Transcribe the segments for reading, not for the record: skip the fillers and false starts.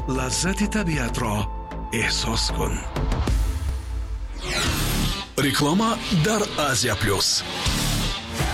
Лаззати табиатро эҳсос кун. Реклама дар Азия Плюс.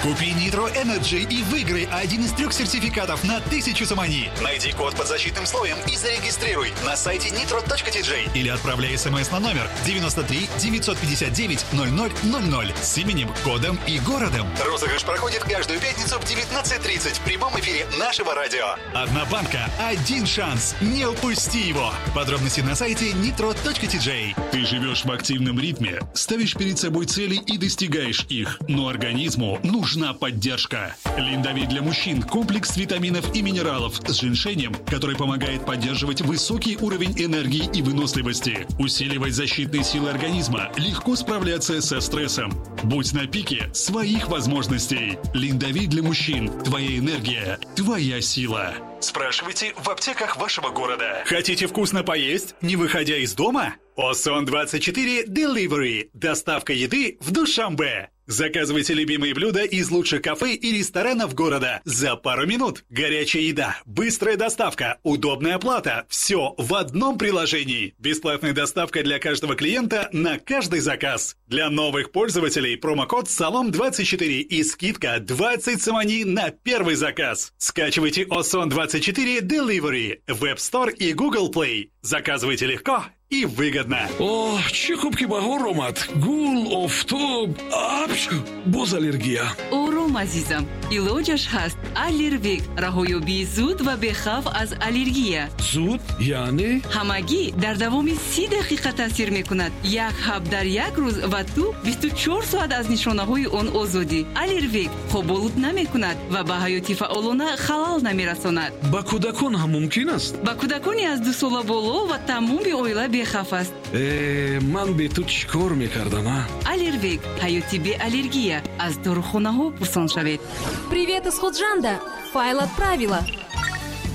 Купи Nitro Energy и выиграй один из трех сертификатов на 1000 сомони. Найди код под защитным слоем и зарегистрируй на сайте nitro.tj или отправляй смс на номер 93 959 0000 с именем, кодом и городом. Розыгрыш проходит каждую пятницу в 19:30 в прямом эфире нашего радио. Одна банка, один шанс. Не упусти его. Подробности на сайте nitro.tj. Ты живешь в активном ритме, ставишь перед собой цели и достигаешь их, но организму нужна поддержка. Линдовит для мужчин – комплекс витаминов и минералов с женьшенем, который помогает поддерживать высокий уровень энергии и выносливости, усиливать защитные силы организма, легко справляться со стрессом. Будь на пике своих возможностей. Линдовит для мужчин – твоя энергия, твоя сила. Спрашивайте в аптеках вашего города. Хотите вкусно поесть, не выходя из дома? Осон24 Delivery. Доставка еды в Душанбе. Заказывайте любимые блюда из лучших кафе и ресторанов города за пару минут. Горячая еда, быстрая доставка, удобная оплата. Все в одном приложении. Бесплатная доставка для каждого клиента на каждый заказ. Для новых пользователей промокод САЛОМ24 и скидка 20 сомони на первый заказ. Скачивайте Осон24 Delivery в App Store и Google Play. Заказывайте легко и выгодно. Оҳ, чӣ хуб, ки баҳор омад. Гул, офтоб, апчу, боз аллергия. Ором, азизам, илоҷаш ҳаст. Аллервик — раҳоёбии зуд ва бехавф аз аллергия. Зуд яъне? Ҳамагӣ дар давоми 30 дақиқа таъсир мекунад. Як ҳаб дар як рӯз, ва ту 24 соат аз нишонаҳои он озодӣ. Аллервик хоболуд намекунад ва ба ҳаёти фаъолона халал намерасонад. Ба кӯдакон ҳам мумкин аст? Ба кӯдакони аз 2 сола боло ва тамоми оила бехавф аст. Э, ман бе ту чӣ кор мекардам, а? Аллервик — ҳаёти беаллергия. Аз дорухонаҳо пурсон шавед. Привет из Худжанда! Файл отправила.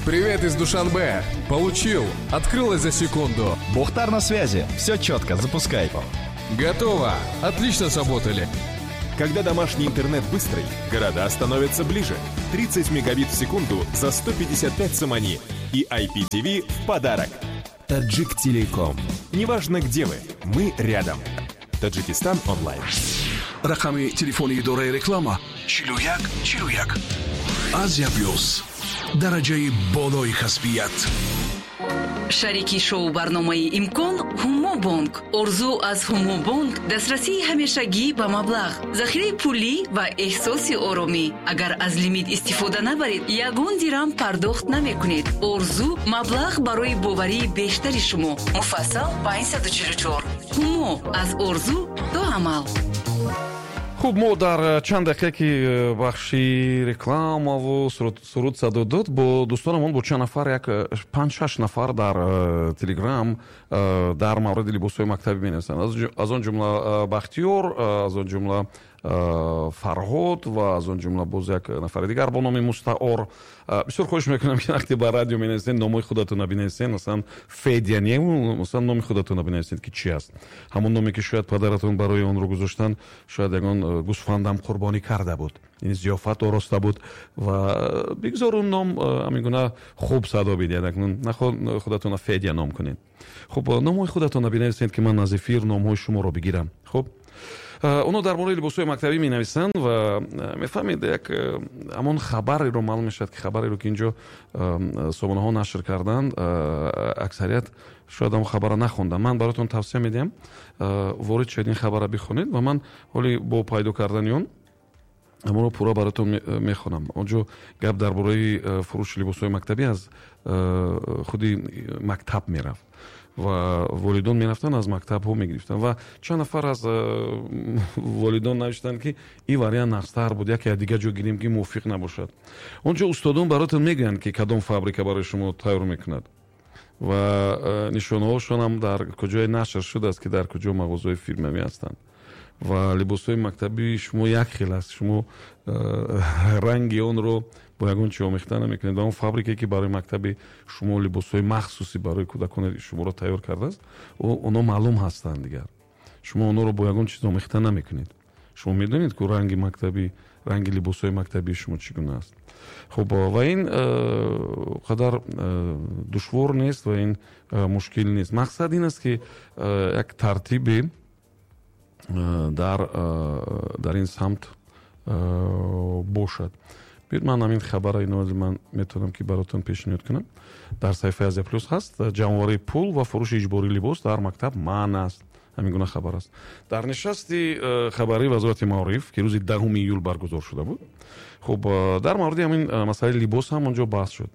Привет из Душанбе. Получил. Открылось за секунду. Бухтар на связи. Все четко, запускай. Готово. Отлично сработали. Когда домашний интернет быстрый, города становятся ближе. 30 мегабит в секунду за 155 сомони. И IPTV в подарок. Таджик Телеком. Неважно, где вы, мы рядом. Таджикистан онлайн. Рақами телефони идораи реклама: 41 41. Азия Плюс, дараҷаи болои касбият. Шарики шоу барномаи «Имкон» Ҳумобонк. Орзу аз Ҳумобонк: дастрасии ҳамешагӣ ба маблағ, захираи пулӣ ва эҳсоси оромӣ. Агар аз лимит истифода набаред, ягон дирам пардохт намекунед. Орзу: маблағ барои боварии бештари шумо. Муфассал 544. Ҳумо: аз орзу то амал. Хуб, мо дар чанд дақиқа, ки бахши рекламаву суруд садо дод, бо дӯстонамон, бо чанд нафар, як панҷ-шаш нафар дар Телеграм дар мавриди либосҳои мактабӣ менависанд. Аз он ҷумла Бахтиёр, аз он ҷумла Фарҳод ва аз он ҷумла боз як нафари дигар бо номи мустаор. Бисёр хоҳиш мекунам, ки вақте ба радио менависед, номҳои худатонро бинависед. Масалан, Федя не, масалан, номи худатонро бинависед, ки чи аст. Ҳамон номе, ки шояд падаратон барои онро гузоштан, шояд ягон гӯсфандам қурбонӣ карда буд, ин зиёфат ороста буд, ва бигзор он ном ҳамин гуна хуб садо бидиҳад. Акнун наход худатонро Федя ном кунед. Хуб, номҳои худатонро бинависед, ки ман аз эфир номҳои шуморо бигирам. Хуб, онҳо дар бораи либосҳои мактабӣ менависанд ва мефаҳмед, як ҳамон хабареро маълум мешавад, ки хабареро, ки инҷо сомонаҳо нашр карданд, аксарият шояд ҳамон хабарро нахонданд. Ман бароятон тавсия медиҳам, ворид шавед, ин хабарро бихонед, ва ман ҳоли бо пайдо кардани он ҳамонро пурра бароятон мехонам. Он ҷо гап дар бораи фурӯши либосҳои мактабӣ аз худи мактаб мерафт ва волидон мерафтанд, аз мактабҳо мегирифтанд, ва чанд нафар аз волидон навиштанд, ки ин вариант нағзтар буд, яке аз дигар ҷо гирем, ки мувофиқ набошад. Он ҷо устодон бароятон мегӯянд, ки кадом фабрика барои шумо тайёр мекунад, ва нишонаҳошон ҳам дар куҷое нашр шудааст, ки дар куҷо мағозаҳои фирмавӣ ҳастанд. Ва либосҳои мактабии шумо як хел аст, шумо ранги онро бо ягон чи омехта намекунед, ва он фабрикае, ки барои мактаби шумо либосҳои махсуси барои кӯдакони шуморо тайёр кардааст, онҳо маълум ҳастанд. Дигар шумо онҳоро бо ягон чиз омехта намекунед. Шумо медонед, ку ранги мактабӣ, ранги либосҳои мактабии шумо чӣ гуна аст. Хуб, ва ин қадар душвор нест ва ин мушкил нест. Мақсад ин аст, ки як тартибе дар ин самт бошад. Биёед, ман ҳамин хабара инози ман метавонам, ки баротон пешниҳод кунам. Дар саҳифаи Азия Плюс ҳаст: ҷамъоварии пул ва фурӯши иҷбории либос дар мактаб манъ аст. Ҳамин гуна хабар аст. Дар нишасти хабарии Вазорати маориф, ки рӯзи 10 июл баргузор шуда буд, хуб, дар мавриди ҳамин масъалаи либос ҳам онҷо баҳс шуд.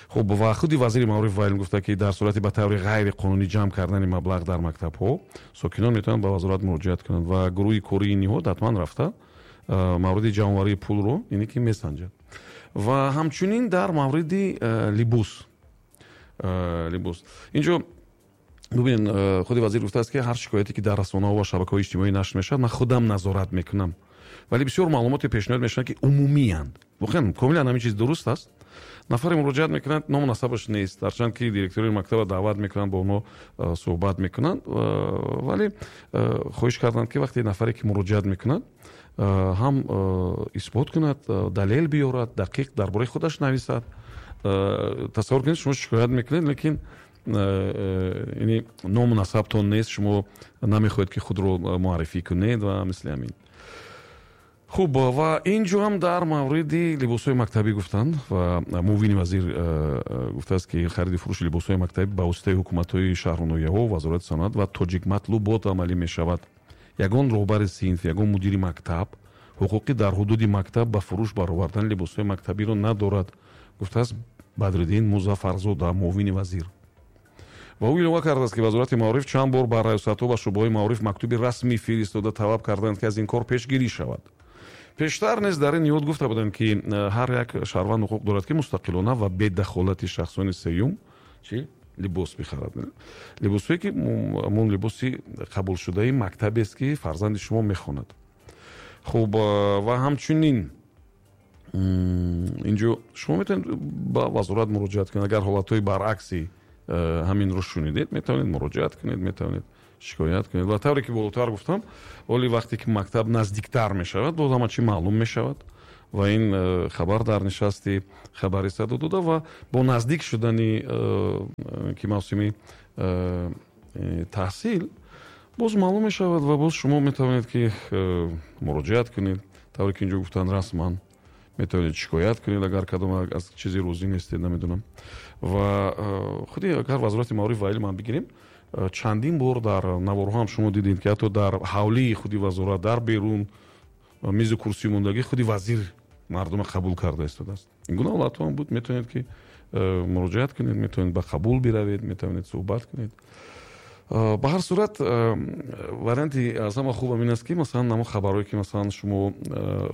Хуб, ва худи вазири маориф ва илм гуфта, ки дар сурати ба таври ғайриқонунӣ ҷамъ кардани маблағ дар мактабҳо сокинон метавонанд ба вазорат муроҷиат кунанд ва гурӯҳи кории ниҳод ҳатман рафта мавриди ҷамъоварии пулро ине ки месанҷад. Ва ҳамчунин дар мавриди либос инҷо бубинед, худи вазир гуфтааст, ки ҳар шикояте, ки дар расонаҳо ва шабакаҳои иҷтимоӣ нашр мешавад, ман худам назорат мекунам, вале бисёр маълумоте пешниҳод мешаванд, ки умумиянд. Воқеан комилан ҳамин чиз дуруст аст. Нафаре муроҷиат мекунад, ному насабаш нест, ҳарчанд ки директори мактаба даъват мекунанд, бо онҳо суҳбат мекунанд, вале хоҳиш карданд, ки вақте нафаре ки муроҷиат мекунад, ҳам исбот кунад, далел биёрад, дақиқ дар бораи худаш нависад. Тасаввур кунед, шумо шикоят мекунед, лекин яъне ному насабтон нест, шумо намехоҳед, ки худро муаррифӣ кунед ва мисли ҳамин. Хуб, ва ин ҷо ҳам дар мавриди либосҳои мактабӣ гуфтанд ва муовини вазир гуфтааст, ки хариди фурӯши либосҳои мактабӣ ба воситаи ҳукуматҳои шаҳру ноҳияҳо, Вазорати саноат ва Тоҷикматлубот амалӣ мешавад. Ягон роҳбари синф, ягон мудири мактаб ҳуқуқи дар ҳудуди мактаб ба фурӯш баровардани либосҳои мактабиро надорад, гуфтааст Бадриддин Музаффарзода, муовини вазир. Ва ӯ илова кардааст, ки Вазорати маориф чанд бор ба раёсатҳо ва шӯъбаҳои маориф мактуби расмӣ фиристода, талаб карданд, ки аз ин кор пешгирӣ шавад. Пештар низ дар ин ниҳод гуфта буданд, ки ҳар як шаҳрванд ҳуқуқ дорад, ки мустақилона ва бедахолати шахсони сеюм чи либос бихарад. Либосҳое, ки ҳамон либоси қабулшудаи мактабест, ки фарзанди шумо мехонад. Хуб, ва ҳамчунин инҷо шумо метавонед ба вазорат муроҷиат кунед. Агар ҳолатҳои баръакси ҳаминро шунидед, метавонед муроҷиат кунед, метавонед шикоят кунед. Ва тавре ки болотар гуфтам, оли вақте ки мактаб наздиктар мешавад, боз ҳама чӣ маълум мешавад. Ва ин хабар дар нишасти хабарӣ садо дода ва бо наздик шудани ки мавсими таҳсил боз маълум мешавад ва боз шумо метавонед, ки муроҷиат кунед. Тавре ки инҷо гуфтанд, расман метавонед шикоят кунед, агар кадом аз чизе розӣ нестед, намедонам. Ва худи агар Вазорати маориф ва илм ҳам бигирем, чандин бор дар наворҳо ҳам шумо дидед, ки ҳатто дар ҳавлии худи вазорат, дар берун мизу курсӣ мондагӣ, худи вазир мардума қабул карда истодааст. Ин гуна ҳолатҳо ҳам буд. Метавонед, ки муроҷиат кунед, метавонед ба қабул биравед, метавонед суҳбат кунед. Ба ҳар сурат, варианти аз ҳама хубам ин аст, ки масалан намо хабарҳое, ки масалан шумо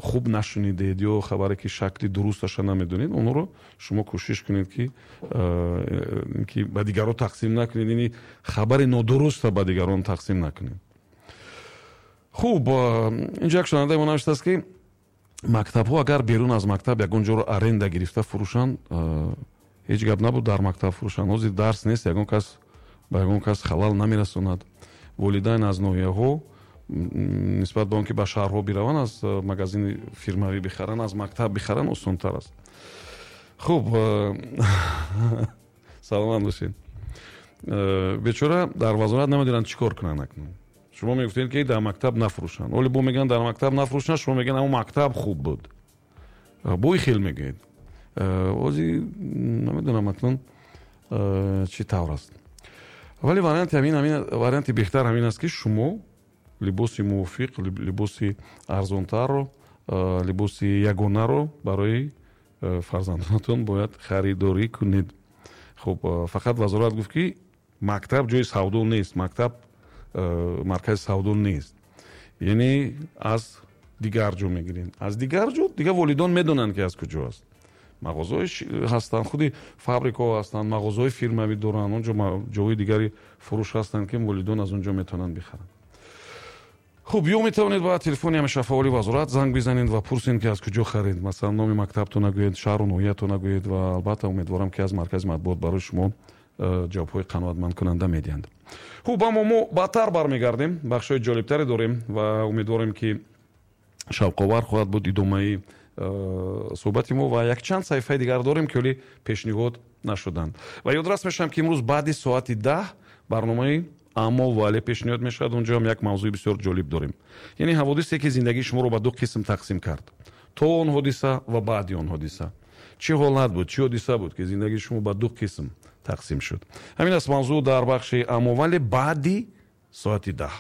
хуб нашунидед ё хабаре, ки шакли дурусташа намедонед, онҳоро шумо кӯшиш кунед, ки ба дигарон тақсим накунед, яъне хабари нодуруста ба дигарон тақсим накунед. Хуб, инҷо як шунавандаи мо навиштааст, ки мактабҳо агар берун аз мактаб ягон ҷоро аренда гирифта фурӯшанд, ҳеҷ гап набуд, дар мактаб фурӯшанд. Ҳозир дарс нест, ягон кас ба ягон кас халал намерасонад. Волидайн аз ноҳияҳо нисбат ба он ки ба шаҳрҳо бираванд, аз магазини фирмавӣ бихаранд, аз мактаб бихаранд осонтар аст. Хуб, саломат бошед. Бечора дар вазорат намедонанд, чӣ кор кунанд акнун. Шумо мегуфтед, ки дар мактаб нафурӯшанд, оле бо мегӯянд дар мактаб нафурӯшанд, шумо мегӯянд ҳамон мактаб хуб буд, бои хел мегӯед. Ози намедонам акнун чӣ тавр аст, вале варианти ҳамин, варианти беҳтар ҳамин аст, ки шумо либоси мувофиқ, либоси арзонтарро, либоси ягонаро барои фарзандонатон бояд харидорӣ кунед. Хуб, фақат вазорат гуфт, ки мактаб ҷои савдо нест, мактаб маркази савдо нест, яъне аз дигар ҷо мегирем. Аз дигар ҷо дигар волидон медонанд, ки аз куҷо аст. Мағозаҳои ҳастанд, худи фабрикаҳо ҳастанд, мағозаҳои фирмавӣ доранд, он ҷо ҷоҳои дигари фурӯш ҳастанд, ки волидон аз он ҷо метавонанд бихаранд. Хуб, ё метавонед ба телефони ҳамеша фаъоли вазорат занг бизанед ва пурсед, ки аз куҷо харид. Масалан, номи мактабтон нагӯед, шаҳру ноҳиятон нагӯед ва албатта умедворам, ки аз маркази матбуот барои шумо ҷавобҳои қаноатмандкунанда медиҳанд. Хуб, аммо мо баъдтар бармегардем, бахшҳои ҷолибтаре дорем ва умедворем, ки шавқовар хоҳад буд идомаи суҳбати мо ва якчанд саҳифаи дигар дорем, ки ҳоле пешниҳод Нашуданд. Ва ёдрас мешавам, ки имрӯз баъди соати 10 барномаи «Аммо вале» пешниҳод мешавад. Унҷо ҳам як мавзӯи бисёр ҷолиб дорем, яъне ҳаводисе, ки зиндагии шуморо ба ду қисм тақсим кард: то он ҳодиса ва баъди он ҳодиса. Чӣ ҳолат буд, чӣ ҳодиса буд, ки зиндагии шумо ба ду қисм тақсим шуд? Ҳамин аст мавзӯъ дар бахши «Аммо вале» баъди соати 10.